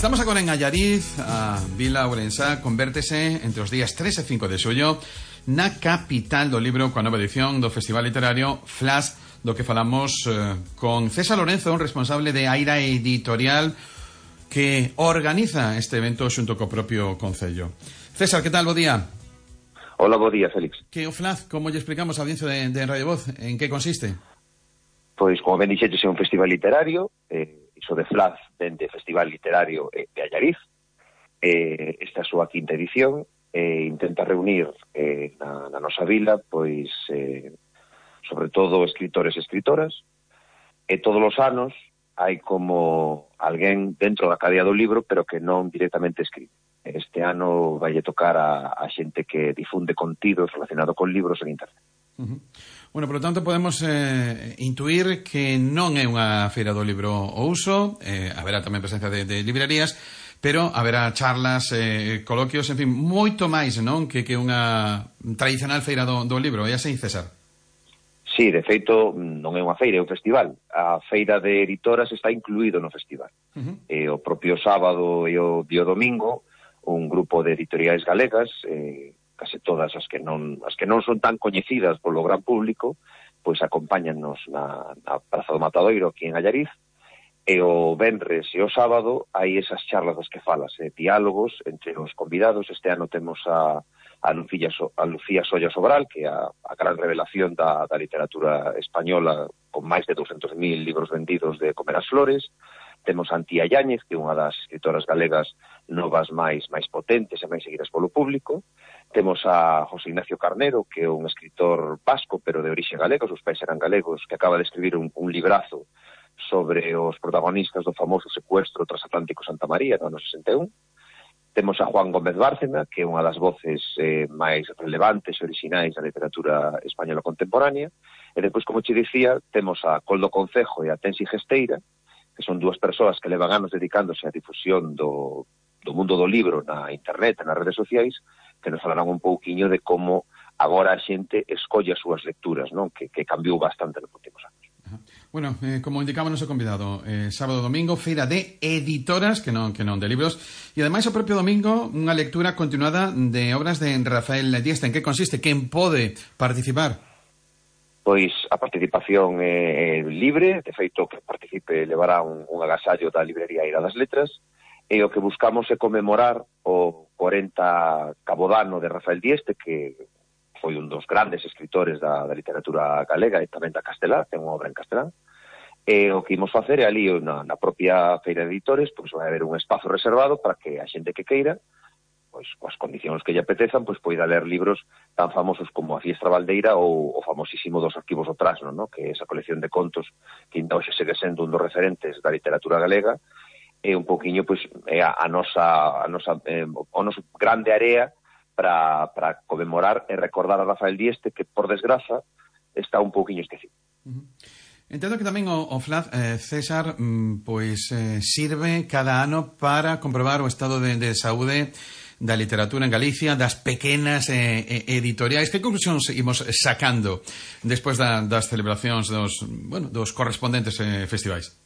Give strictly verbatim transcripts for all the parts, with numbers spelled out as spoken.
Estamos agora en Allariz, a Vila Ourensá convértese entre os días tres e cinco de xullo na capital do libro coa nova edición do Festival Literario Flash, do que falamos eh, con César Lorenzo, un responsable de Aira Editorial que organiza este evento xunto co propio Concello. César, que tal? Bo día. Hola, bo día, Félix. Que o Flash, como lle explicamos a audiencia de, de Radio Voz, en que consiste? Pois, como ben dixetes, é un festival literario, eh, iso de Flash, dende Festival Literario eh, de Allariz. Eh, esta é a súa quinta edición, e eh, intenta reunir eh, na, na nosa vila, pois, eh, sobre todo, escritores e escritoras, e todos os anos hai como alguén dentro da cadea do libro, pero que non directamente escribe. Este ano vai tocar a, a xente que difunde contidos relacionados con libros en internet. Uh-huh. Bueno, por lo tanto, podemos eh, intuir que non é unha feira do libro ao uso, eh, haberá tamén presencia de, de librerías, pero haberá charlas, eh, coloquios, en fin, moito máis, non? Que, que unha tradicional feira do, do libro, é así, César? Sí, de feito, non é unha feira, é un festival. A feira de editoras está incluído no festival. Uh-huh. E o propio sábado e o, e o domingo, un grupo de editoriais galegas, eh, case todas as que non as que non son tan coñecidas polo gran público, pois acompáñannos na, na Praza do Matadoiro aquí en Allariz, e o venres e o sábado hai esas charlas das que falas, eh, diálogos entre os convidados. Este ano temos a, a, Lucía, so, a Lucía Solla Sobral, que é a, a gran revelación da, da literatura española, con máis de doscientos mil libros vendidos de Comer as Flores. Temos a Antía Yáñez, que é unha das escritoras galegas novas máis máis potentes e máis seguidas polo público. Temos a José Ignacio Carnero, que é un escritor vasco, pero de orixe galega, os pais eran galegos, que acaba de escribir un, un librazo sobre os protagonistas do famoso secuestro transatlántico Santa María no ano sesenta e un. Temos a Juan Gómez Bárcena, que é unha das voces eh, máis relevantes e orixinais da literatura española contemporánea. E depois, como che dicía, temos a Coldo Concejo e a Tensi Gesteira, que son dúas persoas que levan anos dedicándose á difusión do, do mundo do libro na internet, nas redes sociais, que nos falarán un pouquiño de como agora a xente escolle as súas lecturas, non? Que, que cambiou bastante nos últimos anos. Bueno, eh, como indicaba o noso convidado, eh, sábado e domingo, feira de editoras, que non que non de libros, e ademais o propio domingo unha lectura continuada de obras de Rafael Dieste. En que consiste? Quen pode participar? Pois a participación é libre, de feito que participe levará un, un agasallo da librería Aira das Letras, e o que buscamos é conmemorar o corenta cabodano de Rafael Dieste, que foi un dos grandes escritores da, da literatura galega e tamén da castelá, ten unha obra en castelán, e o que imos facer é ali na, na propia feira de editores, pois vai haber un espazo reservado para que a xente que queira, pois coas condicións que lle apetezan, pois poida ler libros tan famosos como A Fiestra Valdeira ou o famosísimo Dos Arquivos do Trasno, ¿no? Que é esa colección de contos que ainda hoxe segue sendo un dos referentes da literatura galega, e un poquinho, pois, é a, a nosa, a nosa eh, o noso grande área para, para conmemorar e recordar a Rafael Dieste, que, por desgraza, está un pouquiño esquecido. Uh-huh. Entendo que tamén o, o Flash, eh, César, mm, pois eh, sirve cada ano para comprobar o estado de, de saúde da literatura en Galicia, das pequenas eh, editoriais. Que conclusións imos sacando despois da, das celebracións dos, bueno, dos correspondentes eh, festivais?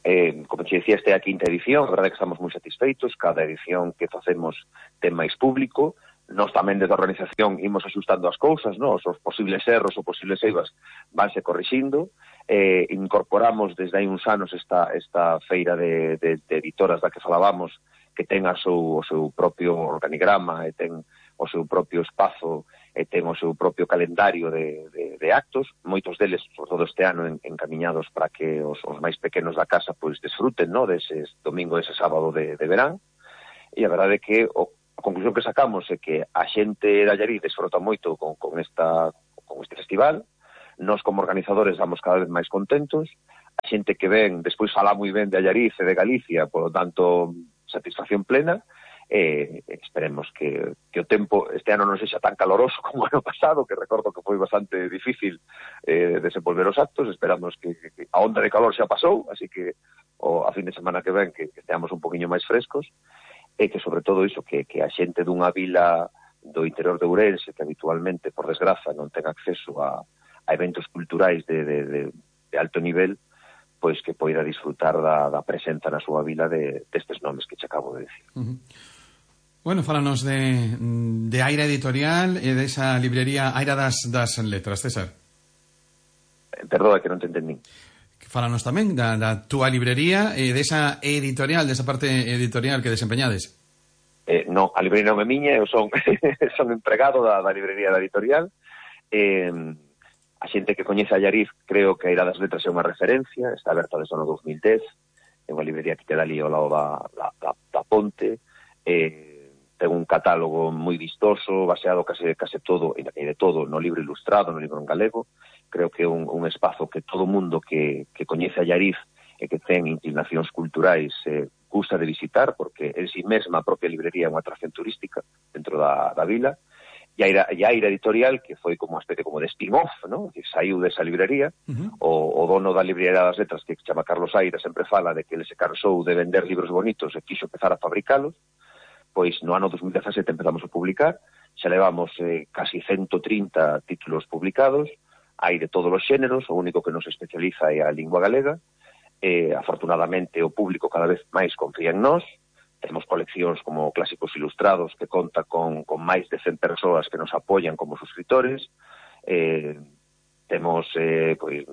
Eh, como te decía, esta é a quinta edición, a verdade é que estamos moi satisfeitos, cada edición que facemos ten máis público. Nós tamén desde a organización imos axustando as cousas, ¿no? Os posibles erros ou posibles eivas vanse corrixindo. Eh, incorporamos desde hai uns anos esta, esta feira de, de, de editoras da que falábamos, que ten a seu, o seu propio organigrama, e ten o seu propio espazo, e ten o seu propio calendario de, de, de actos, moitos deles, sobre todo este ano, en, encamiñados para que os, os máis pequenos da casa pois desfruten, ¿no? Deses domingo, dese sábado de, de verán. E a verdade é que o, a conclusión que sacamos é que a xente de Allariz desfruta moito con, con, esta, con este festival. Nós, como organizadores, vamos cada vez máis contentos. A xente que ven, despois fala moi ben de Allariz e de Galicia, por lo tanto, satisfacción plena. Eh, esperemos que, que o tempo este ano non sexa tan caloroso como o ano pasado, que recordo que foi bastante difícil eh, desenvolver os actos. Esperamos que, que a onda de calor xa pasou, así que o, a fin de semana que ven que, que esteamos un poquinho máis frescos, e que sobre todo iso, que, que a xente dunha vila do interior de Ourense, que habitualmente, por desgraza, non ten acceso a, a eventos culturais de, de, de, de alto nivel, pois que poida disfrutar da, da presenza na súa vila de, destes nomes que che acabo de decir. Uh-huh. Bueno, fálanos de, de Aira Editorial e desa librería Aira das, das Letras, César. Perdoa, que non te entendín. Fálanos tamén da, da túa librería e desa editorial, desa parte editorial que desempeñades. Eh, non, a librería non é miña, eu son, son empregado da, da librería da editorial. Eh, a xente que coñece a Allariz, creo que a Aira das Letras é unha referencia, está aberta desde o ano dos mil dez, é unha librería que queda ali ao lado da, da, da, da ponte, eh, ten un catálogo moi vistoso, baseado case, case todo, e de todo, no libro ilustrado, no libro en galego. Creo que é un, un espazo que todo mundo que, que coñece a Allariz e que ten inclinacións culturais eh, gusta de visitar, porque en si mesma a propia librería é unha atracción turística dentro da, da vila. E a Aira, e a Aira Editorial, que foi como uma especie como de spin-off, ¿no? Que saiu desa librería. Uh-huh. o, o dono da librería das letras, que se chama Carlos Aira, sempre fala de que ele se cansou de vender libros bonitos e quixo empezar a fabricalos. Pois no ano dos mil dezasete empezamos a publicar, xa levamos eh, casi ciento trinta títulos publicados. Hai de todos os xéneros, o único que nos especializa é a lingua galega. Eh, afortunadamente o público cada vez máis confía en nós. Temos coleccións como Clásicos Ilustrados, que conta con, con máis de cen persoas que nos apoian como suscriptores. Eh, temos eh, pois,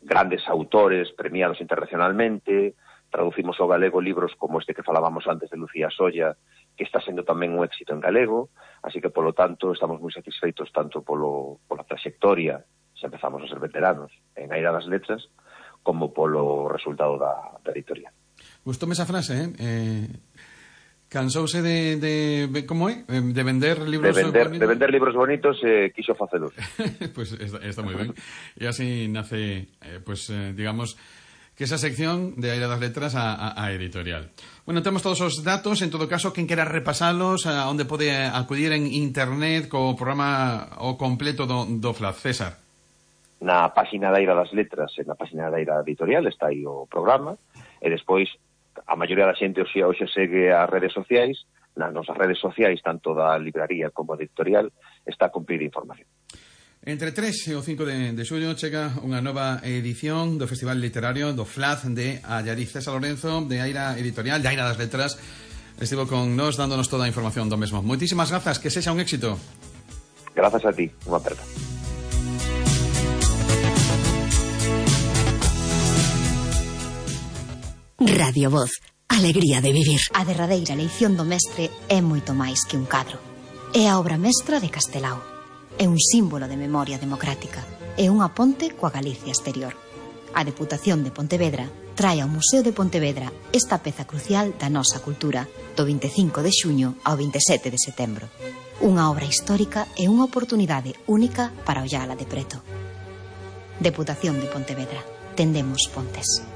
grandes autores premiados internacionalmente. Traducimos ao galego libros como este que falábamos antes de Lucía Solla, que está sendo tamén un éxito en galego. Así que, polo tanto, estamos moi satisfeitos tanto polo, pola trayectoria, se empezamos a ser veteranos en Aira das Letras, como polo resultado da, da editorial. Gustóme esa frase, eh? eh cansouse de, de... como é? De vender libros de vender, bonitos. De vender libros bonitos e eh, quixo facelos. Pues está, está moi ben. E así nace, eh, pues, eh, digamos, que esa sección de Aira das Letras a, a, a editorial. Bueno, temos todos os datos, en todo caso, quen quera repasalos, a onde pode acudir en internet co programa o completo do, do F L A D, César. Na página da Aira das Letras, na página da Aira Editorial, está aí o programa, e despois a maioría da xente hoxe, hoxe segue as redes sociais, nas nosas redes sociais, tanto da libraría como da editorial, está a cumprir información. Entre tres e o cinco de, de xullo chega unha nova edición do Festival Literario do F L A D de Allariz. César Lorenzo, de Aira Editorial, de Aira das Letras, estivo con nos dándonos toda a información do mesmo. Moitísimas grazas, que sexa un éxito. Grazas a ti, unha aperta. Radio Voz, alegría de vivir. A derradeira leición do mestre é moito máis que un cadro. É a obra mestra de Castelao. É un símbolo de memoria democrática. É unha ponte coa Galicia exterior. A Deputación de Pontevedra trae ao Museo de Pontevedra esta peza crucial da nosa cultura do vinte e cinco de xuño ao vinte e sete de setembro. Unha obra histórica e unha oportunidade única para ollala de preto. Deputación de Pontevedra. Tendemos pontes.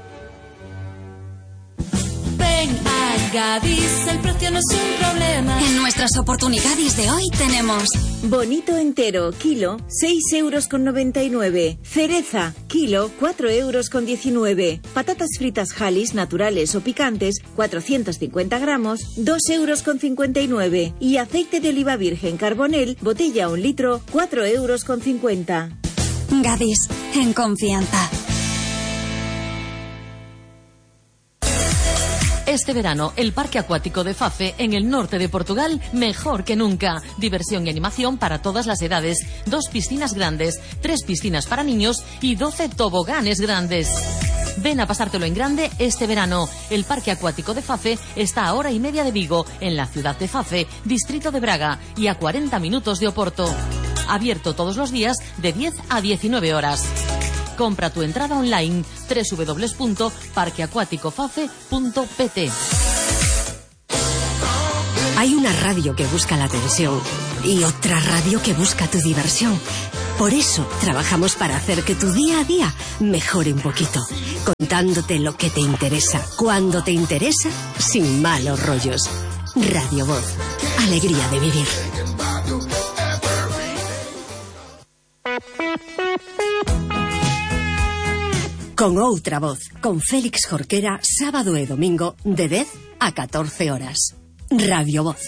Ven a Gadis, el precio no es un problema. En nuestras oportunidades de hoy tenemos bonito entero, kilo, seis euros con noventa y nueve. Cereza, kilo, cuatro euros con diecinueve. Patatas fritas Halis, naturales o picantes, cuatrocientos cincuenta gramos, dos euros con cincuenta y nueve. Y aceite de oliva virgen Carbonel, botella un litro, cuatro euros con cincuenta. Gadis, en confianza. Este verano, el Parque Acuático de Fafe, en el norte de Portugal, mejor que nunca. Diversión y animación para todas las edades. Dos piscinas grandes, tres piscinas para niños y doce toboganes grandes. Ven a pasártelo en grande este verano. El Parque Acuático de Fafe está a hora y media de Vigo, en la ciudad de Fafe, distrito de Braga, y a cuarenta minutos de Oporto. Abierto todos los días de diez a diecinueve horas. Compra tu entrada online doble u doble u doble u punto parque acuático fafe punto p t. Hay una radio que busca la atención y otra radio que busca tu diversión. Por eso trabajamos para hacer que tu día a día mejore un poquito, contándote lo que te interesa, cuando te interesa, sin malos rollos. Radio Voz, alegría de vivir. Con outra voz, con Félix Jorquera, sábado e domingo, de dez a catorce horas. Radio Voz.